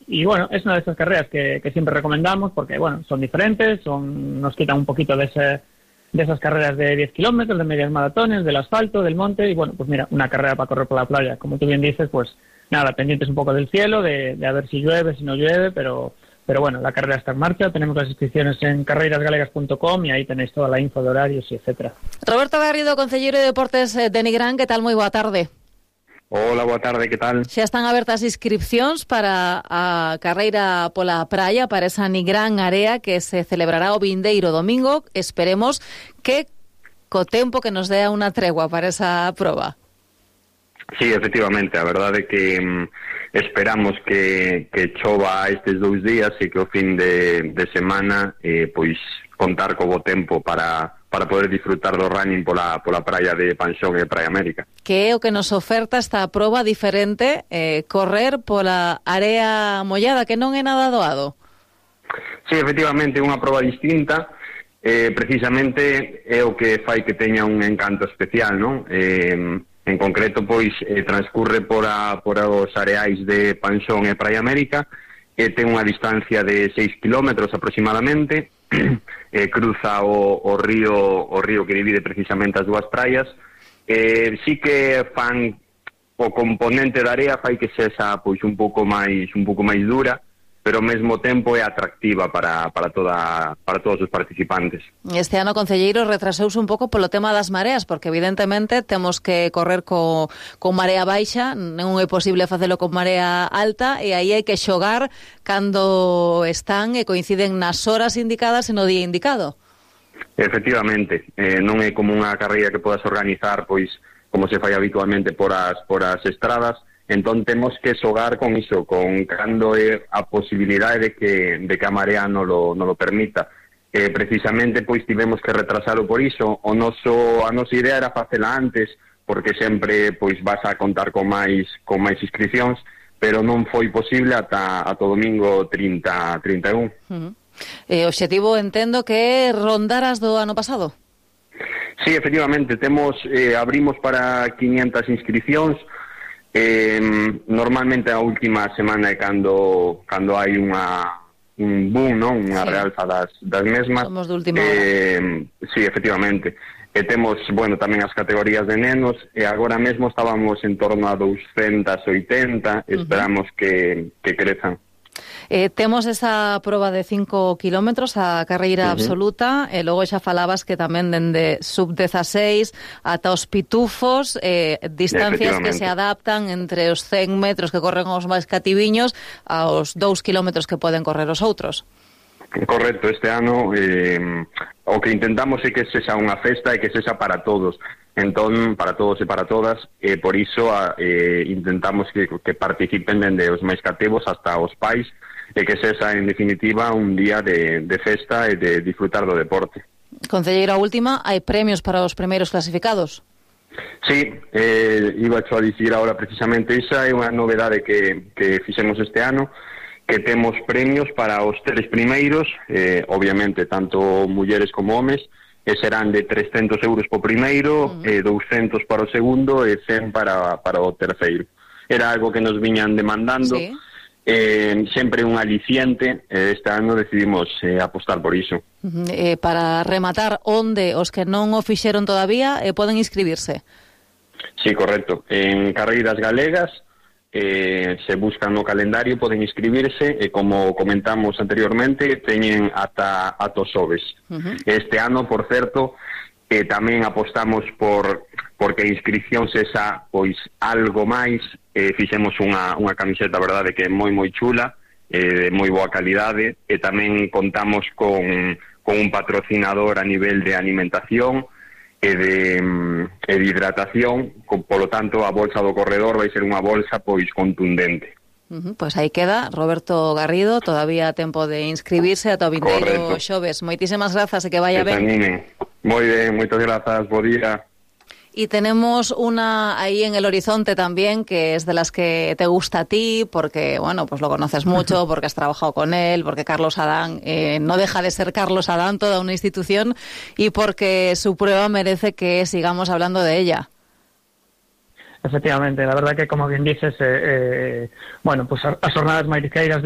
Y bueno, es una de esas carreras que siempre recomendamos porque, bueno, son diferentes, nos quitan un poquito de esas carreras de 10 kilómetros, de medias maratones, del asfalto, del monte, y bueno, pues mira, una carrera para correr por la playa. Como tú bien dices, pues nada, pendientes un poco del cielo, de a ver si llueve, si no llueve, pero bueno, la carrera está en marcha. Tenemos las inscripciones en carreirasgalegas.com y ahí tenéis toda la info de horarios y etcétera. Roberto Garrido, concelleiro de Deportes de Nigrán, que tal? Moi boa tarde. Hola, boa tarde, que tal? Xa están abertas inscripcións para a carreira pola praia, para esa Nigrán Area que se celebrará o vindeiro domingo. Esperemos que co tempo que nos dea unha tregua para esa proba. Sí, efectivamente, a verdade é que esperamos que chova estes 2 días e que o fin de semana pois contar co bo tempo para poder disfrutar do running pola praia de Panxón e Praia América. Que é o que nos oferta esta proba diferente, correr pola area mollada, que non é nada doado? Sí, efectivamente, é unha proba distinta, precisamente é o que fai que teña un encanto especial, non? En concreto, pois, transcurre por os areais de Panxón e Praia América, e ten unha distancia de 6 kilómetros aproximadamente, cruza o río que divide precisamente as dúas praias. Sí que fan o componente da area fai que sexa pois un pouco máis dura, pero ao mesmo tempo é atractiva para todos os participantes. Este ano, concelleiro, retrasouse un pouco polo tema das mareas, porque evidentemente temos que correr con marea baixa, non é posible facelo con marea alta, e aí hai que xogar cando están e coinciden nas horas indicadas e no día indicado. Efectivamente, non é como unha carreira que podas organizar pois como se fai habitualmente por as estradas. Entón temos que xogar con iso, con cando é a posibilidade de que a marea non lo permita. Precisamente pois tivemos que retrasalo por iso. A nosa idea era facela antes, porque sempre pois vas a contar con máis inscripcións, pero non foi posible ata o domingo 31. O obxectivo, entendo, que é rondar as do ano pasado. Sí, efectivamente, abrimos para 500 inscripcións. Normalmente a última semana é cando hai un boom, non? Unha realza das mesmas. Somos de última hora. Sí, efectivamente. E temos, bueno, tamén as categorías de nenos, e agora mesmo estábamos en torno a 280, esperamos que crezan. Temos esa proba de 5 kilómetros, a carreira absoluta, e logo xa falabas que tamén dende sub-16 ata os pitufos, distancias que se adaptan entre os 100 metros que corren os máis cativiños aos 2 kilómetros que poden correr os outros. Correcto, este ano o que intentamos é que sexa unha festa e que sexa para todos. Entón, para todos e para todas, por iso intentamos que participen dende os máis cativos hasta os pais, e que sexa, en definitiva, un día de festa e de disfrutar do deporte. Concelleiro, a última, hai premios para os primeiros clasificados? Sí, iba a dicir ahora precisamente, esa é unha novedade que fixemos este ano, que temos premios para os 3 primeiros, obviamente, tanto mulleres como homes, e serán de 300 euros po primeiro, 200 para o segundo e 100 para o terceiro. Era algo que nos viñan demandando, sí. Sempre un aliciente, este ano decidimos apostar por iso. Para rematar, onde os que non o fixeron todavía poden inscribirse? Sí, correcto. En Carreiras Galegas, se buscan no calendario, poden inscribirse, e como comentamos anteriormente, teñen ata os xoves. Este ano, por certo, tamén apostamos porque a inscripción sexa pois algo máis. Fixemos unha camiseta, verdade, que é moi chula, de moi boa calidade, e tamén contamos con un patrocinador a nivel de alimentación e de hidratación, polo tanto a bolsa do corredor vai ser unha bolsa pois contundente. Pois aí queda, Roberto Garrido, todavía tempo de inscribirse ata o vindeiro xoves. Moitísimas grazas e que vaya ben. Moi ben, moitas grazas, bo día. Y tenemos una ahí en el horizonte también, que es de las que te gusta a ti, porque, bueno, pues lo conoces mucho, porque has trabajado con él, porque Carlos Adán no deja de ser Carlos Adán, toda una institución, y porque su prueba merece que sigamos hablando de ella. Efectivamente, la verdad que, como bien dices, bueno, pues as jornadas marisqueiras